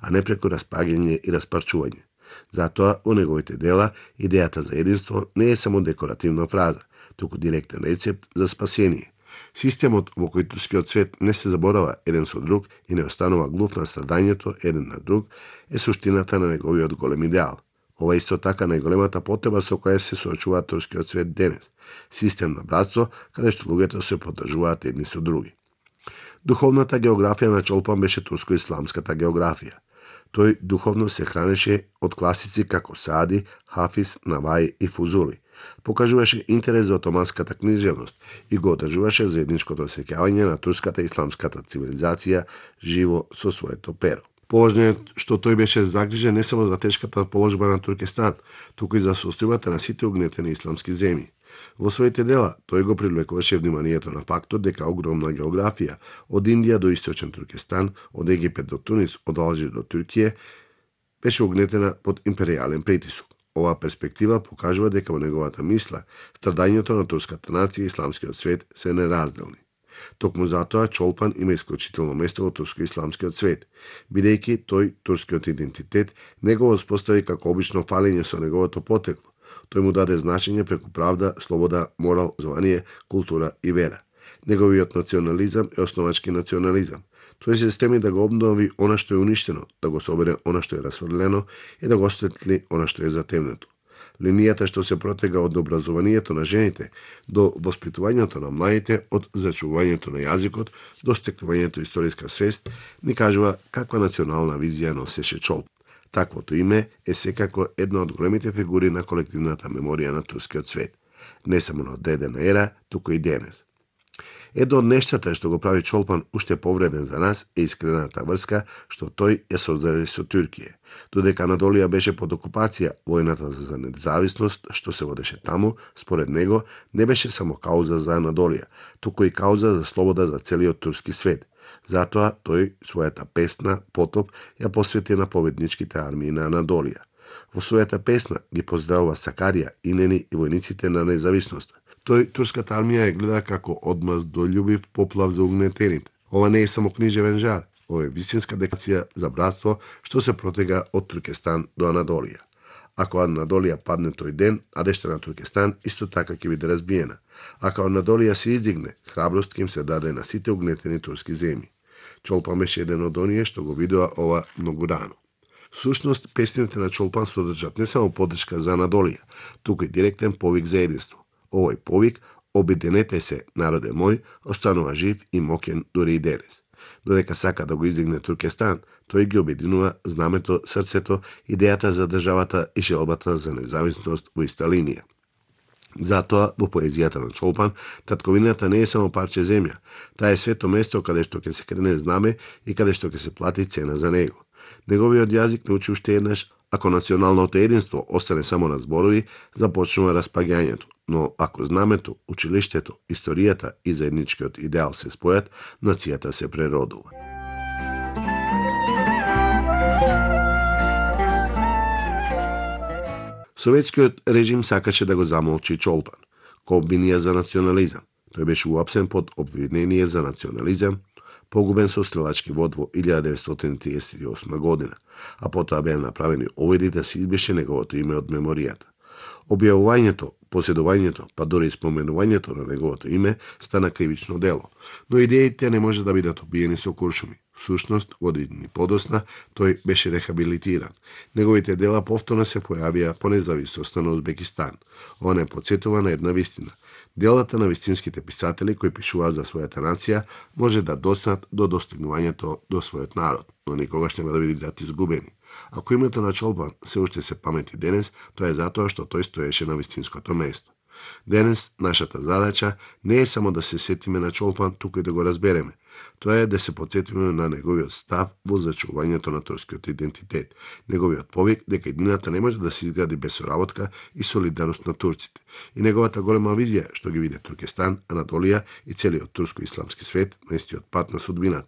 а не преку распаѓање и распарчување. Затоа, во неговите дела, идејата за единство не е само декоративна фраза, туку директен рецепт за спасение. Системот во кој турскиот свет не се заборава еден со друг и не останува глув на страдањето еден на друг, е суштината на неговиот голем идеал. Ова исто така најголемата потреба со која се соочува турскиот свет денес. Систем на братство, каде што луѓето се поддржуваат едни со други. Духовната географија на Чолпан беше турско-исламската географија. Тој духовно се хранеше од класици како Саади, Хафиз, Наваи и Фузули. Покажуваше интерес за отоманската книжевност и го одржуваше заедничкото сеќавање на турската исламската цивилизација живо со своето перо. Поважно е што тој беше загрижен не само за тешката положба на Туркестан, туку и за состојбата на сите угнетени исламски земји. Во своите дела тој го привлекуваше вниманието на фактот дека огромна географија од Индија до Источен Туркестан, од Египет до Тунис, од Алжир до Туркија, беше угнетена под империјален притисок. Оваа перспектива покажува дека во неговата мисла страдањето на турската нација и исламскиот свет се неразделни. Токму затоа Чолпан има исклучително место во турско-исламскиот свет, бидејќи тој турскиот идентитет не го воспостави како обично фалење со неговото потекло. Тој му даде значење преку правда, слобода, морал, звание, култура и вера. Неговиот национализам е основачки национализам. Тој се стеми да го обнови она што е уништено, да го собере она што е расфрлено и да го осветли она што е затемнето. Линијата што се протега од образованието на жените до воспитувањето на младите, од зачувањето на јазикот до стекнувањето историска свест, ни кажува каква национална визија носеше Чолпан. Таквото име е секако една од големите фигури на колективната меморија на турскиот свет, не само на одредена ера, туку и денес. Едно од нештата што го прави Чолпан уште повреден за нас е искрената врска што тој ја создаде со Туркија. Додека Анадолија беше под окупација, војната за независност што се водеше таму, според него, не беше само кауза за Анадолија, туку и кауза за слобода за целиот турски свет. Затоа тој својата песна Потоп ја посвети на победничките армии на Анадолија. Во својата песна ги поздравува Сакарија, Инени и војниците на независноста. Тој турската армија ја гледа како одмаздолјубив поплав за угнетените. Ова не е само книжевен жар, ова е вистинска декларација за братство што се протега од Туркестан до Анадолија. Ако Анадолија падне тој ден, а дешта на Туркестан исто така ќе биде разбиена. Ако Анадолија се издигне, храброст ќе им се даде на сите угнетени турски земји. Чолпан беше еден од оние што го видува ова многу рано. Всушност, песните на Чолпан содржат не само поддршка за Анадолија, туку и директен повик за единство. Овој повик, обединете се, народе мој, останува жив и моќен дури и денес. Додека сака да го издигне Туркестан, тој ги обединува знамето, срцето, идејата за државата и желбата за независност во иста линија. Затоа, во поезијата на Чолпан, татковината не е само парче земја, таа е свето место каде што ќе се крене знаме и каде што ќе се плати цена за него. Неговиот јазик научи уште еднаш, ако националното единство остане само на зборови, започнува распаѓањето, но ако знамето, училиштето, историјата и заедничкиот идеал се спојат, нацијата се преродува. Советскиот режим сакаше да го замолчи Чолпан, ко обвинија за национализам. Тој беше уапсен под обвинение за национализам, погубен со стрелачки вод во 1938 година, а потоа беа направени обиди да се избрише неговото име од меморијата. Објавувањето, поседувањето, па дори и споменувањето на неговото име стана кривично дело, но идеите не може да бидат обиени со куршуми. Всушност, години подосна, тој беше рехабилитиран. Неговите дела повторно се појавија по независноста на Узбекистан. Ова не потсетува на една вистина. Делата на вистинските писатели кои пишуваат за својата нација може да доснат до достигнувањето до својот народ, но никогаш нема да бидат изгубени. Ако името на Чолпан се уште се памети денес, тоа е затоа што тој стоеше на вистинското место. Денес нашата задача не е само да се сетиме на Чолпан, туку и да го разбереме. Тоа е да се потсетиме на неговиот став во зачувањето на турскиот идентитет, неговиот повик дека едината не може да се изгради без соработка и солидарност на турците, и неговата голема визија што ги виде Туркестан, Анадолија и целиот турско-исламски свет на истиот пат на судбината.